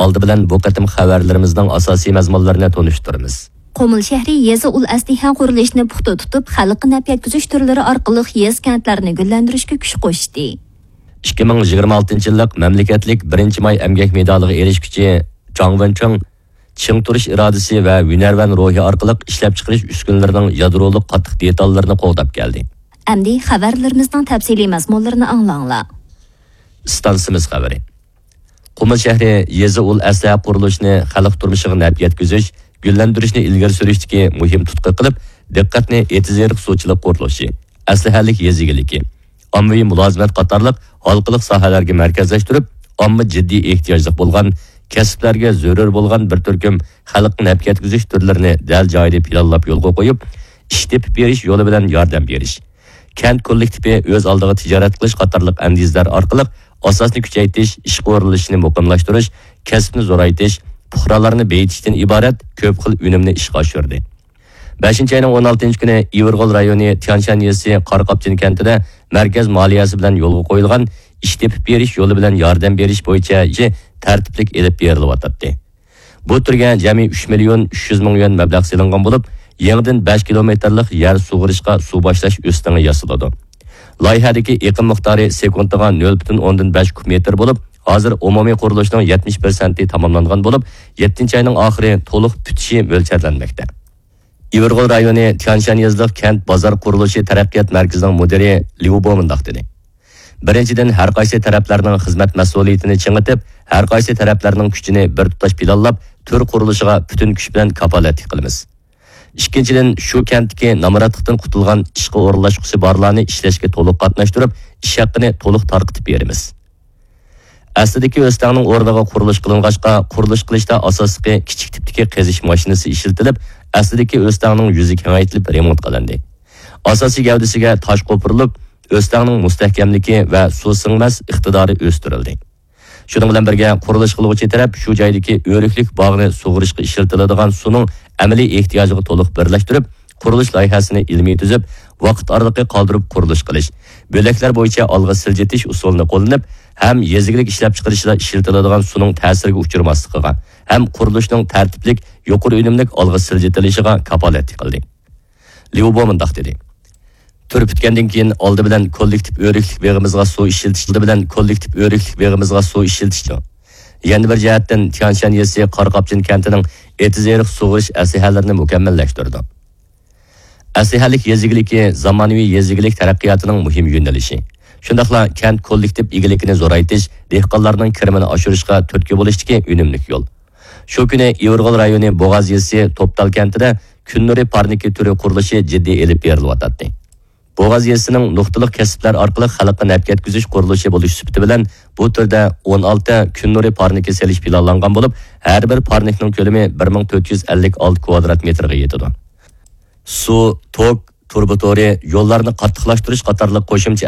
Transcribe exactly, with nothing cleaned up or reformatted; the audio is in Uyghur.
ئالدى بىلەن بۇ قېتىم خەۋەرلىرىمىزنىڭ ئاساسىي مەزمۇنلىرىنى تونۇشتۇرىمىز. قۇمۇل شەھىرى يېزا ئۇل ئەسلىھە قۇرۇلۇشىنى پۇختا تۇتۇپ، خەلققە نەپ يەتكۈزۈش تۈرلىرى ئارقىلىق يېزا، كەنتلەرنى گۈللەندۈرۈشكە كۈچ قوشتى. ئىككى مىڭ يىگىرمە ئالتىنچى يىللىق مەملىكەتلىك بىرىنچى ماي ئەمگەك مېدالىغا ئېرىشكۈچى جاڭ ۋېنچىڭ چىڭ تۇرۇش ئىرادىسى ۋە ھۈنەرۋەن روھى ئارقىلىق ئىشلەپچىقىرىش ئۈسكۈنىلىرىنىڭ يادرولۇق قاتتىق دېتاللىرىنى قوغداپ كەلدى. ئەمدى خەۋەرلىرىمىزنىڭ تەپسىلىي مەزمۇنلىرىنى ئاڭلاڭلار. ئىستانسىمىز خەۋىرى. قۇمۇل شەھىرى يېزا ئۇل ئەسلىھە قۇرۇلۇشىنى خەلق تۇرمۇشىغا نەپ يەتكۈزۈش، گۈللەندۈرۈشنى ئىلگىرى سۈرۈشتىكى مۇھىم تۇتقا قىلىپ، دىققەتنى ئېتىز-ئېرىق سۇچىلىق قۇرۇلۇشى، ئەسلىھەلىك يېزا ئىگىلىكى، ئاممىۋى مۇلازىمەت قاتارلىق ھالقىلىق ساھەلەرگە مەركەزلەشتۈرۈپ، ئامما جىددىي ئېھتىياجلىق بولغان، كەسىپلەرگە زۆرۈر بولغان بىر تۈركۈم خەلققە نەپ يەتكۈزۈش تۈرلىرىنى دەل جايىدا پىلانلاپ يولغا قويۇپ، ئىش تېپىپ بېرىش يولى بىلەن ياردەم بېرىش، كەنت كوللېكتىپى ئۆز ئالدىغا تىجارەت قىلىش قاتارلىق ئەندىزىلەر ئارقىلىق ئاساسنى كۈچەيتىش، ئىشقا ئورۇنلىشىشنى مۇقىملاشتۇرۇش، كەسىپنى زورايتىش، پۇقرالارنى بېيىتىشتىن ئىبارەت كۆپ خىل ئۈنۈمنى ئىشقا ئاشۇردى. بەشىنچى ئاينىڭ ئون ئالتىنچى كۈنى ئىۋىرغول رايونى تيانشان يېزىسى قاراقاپچىن كەنتىدە مەركەز مالىيەسى بىلەن يولغا قويۇلغان ئىش تېپىپ بېرىش يولى بىلەن ياردەم بېرىش بويىچە ئىش تەرتىپلىك ئېلىپ بېرىلىۋاتاتتى. بۇ تۈرگە جەمئىي ئۈچ مىليون ئۈچ يۈز مىڭ يۈەن مەبلەغ سېلىنغان بولۇپ، يېڭىدىن بەش كىلومېتىرلىق يەر سۇغىرىشقا سۇ باشلاش ئۆستىڭى ياسىلىدۇ. لايىھەدىكى ئېقىم مىقدارى سېكۇنتىغا نۆل پۈتۈن ئوندىن بەش كۇب مېتىر بولۇپ، ھازىر ئومۇمىي قۇرۇلۇشنىڭ يەتمىش پىرسەنتى تاماملانغان بولۇپ، يەتتىنچى ئاينىڭ ئاخىرى تولۇق پۈتۈشى مۆلچەرلەنمەكتە. ئىۋىرغول رايونى تيانشان يېزىلىق كەنت بازار قۇرۇلۇشى تەرەققىيات مەركىزىنىڭ مۇدىرى ليۇ بو مۇنداق دېدى: بىرىنچىدىن، ھەر قايسى تەرەپلەرنىڭ خىزمەت مەسئۇلىيىتىنى چىڭىتىپ، ھەر قايسى تەرەپلەرنىڭ كۈچىنى بىر تۇتاش پىلانلاپ، تۈر قۇرۇلۇشىغا پۈتۈن كۈچ بىلەن كاپالەتلىك قىلىمىز. ئىككىنچىدىن، شۇ كەنتتىكى نامراتلىقتىن قۇتۇلغان ئىشقا ئورۇنلاشقۇسى بارلارنى ئىشلەشكە تولۇق قاتناشتۇرۇپ، ئىش ھەققىنى تولۇق تارقىتىپ بېرىمىز. ئەسلىدىكى ئۆستەڭنىڭ ئورنىغا قۇرۇلۇش قىلىنغاچقا، قۇرۇلۇش قىلىشتا ئاساسلىقى كىچىك تىپتىكى قېزىش ماشىنىسى ئىشلىتىلىپ، ئەسلىدىكى ئۆستەڭنىڭ يۈزى كېڭەيتىلىپ رېمونت قىلىندى. ئاساسىي گەۋدىسىگە تاش قوپۇرۇلۇپ، ئۆستەڭنىڭ مۇستەھكەملىكى ۋە سۇ سىڭمەس ئىقتىدارى ئۆستۈرۈلدى. شۇنىڭ بىلەن بىرگە، قۇرۇلۇش قىلغۇچى تەرەپ شۇ جايدىكى ئۆرۈكلۈك باغنى سۇغىرىشقا ئىشلىتىلىدىغان سۇنىڭ ئەمەلىي ئېھتىياجىغا تولۇق بىرلەشتۈرۈپ، قۇرۇلۇش لايىھەسىنى ئىلمىي تۈزۈپ، ۋاقىت ئارىلىقى قالدۇرۇپ قۇرۇلۇش قىلىش، بۆلەكلەر بويىچە ئالغا سىلجىتىش ئۇسۇلىنى قوللىنىپ، ھەم يېزا ئىگىلىك ئىشلەپچىقىرىشىدا ئىشلىتىلىدىغان سۇنىڭ تەسىرگە ئۇچرىماسلىقىغا، ھەم قۇرۇلۇشنىڭ تەرتىپلىك، يۇقىرى ئۈنۈملۈك ئالغا سىلجىتىلىشىغا كاپالەتلىك قىلدى. ليۇ بو مۇنداق دېدى: تۈر پۈتكەندىن كېيىن، ئالدى بىلەن كوللېكتىپ ئۆرۈكلۈك بېغىمىزغا سۇ ئىشلىتىش، ئالدى بىلەن كوللېكتىپ ئۆرۈكلۈك بېغىمىزغا سۇ ئىشلىتىشتۇ. يەنە بىر جەھەتتىن، تيانشان يېزىسى قاراقاپچىن كەنتىنىڭ ئېتىز-ئېرىق سۇغىرىش ئەسلىھەلىرىنى مۇكەممەللەشتۈردى. ئەسلىھەلىك يېزا ئىگىلىكى زامانىۋى يېزا ئىگىلىك تەرەققىياتىنىڭ مۇھىم يۆنىلىشى. شۇنداقلا كەنت كوللېكتىپ ئىگىلىكىنى زورايتىش، دېھقانلارنىڭ كىرىمىنى ئاشۇرۇشقا تۈرتكە بولۇشتىكى ئۈنۈملۈك يول. شۇ كۈنى ئىۋىرغول رايونى بوغاز يېزىسى توپتال كەنتىدە كۈن نۇرى پارنىكى تۈرى قۇرۇلۇشى جىددىي ئېلىپ بېرىلىۋاتاتتى. بوغاز يېزىسىنىڭ نۇقتىلىق كەسىپلەر ئارقىلىق خەلققە نەپ يەتكۈزۈش قۇرۇلۇشى بولۇش سۈپىتى بىلەن، بۇ تۈردە ئون ئالتە كۈن نۇرى پارنىكى سېلىش پىلانلانغان بولۇپ، ھەر بىر پارنىكنىڭ كۆلىمى بىر مىڭ تۆت يۈز ئەللىك ئالتە كۋادرات مېتىرغا يېتىدۇ. سۇ، توك، تۇرۇبا تورى، يوللارنى قاتتىقلاشتۇرۇش قاتارلىق قوشۇمچە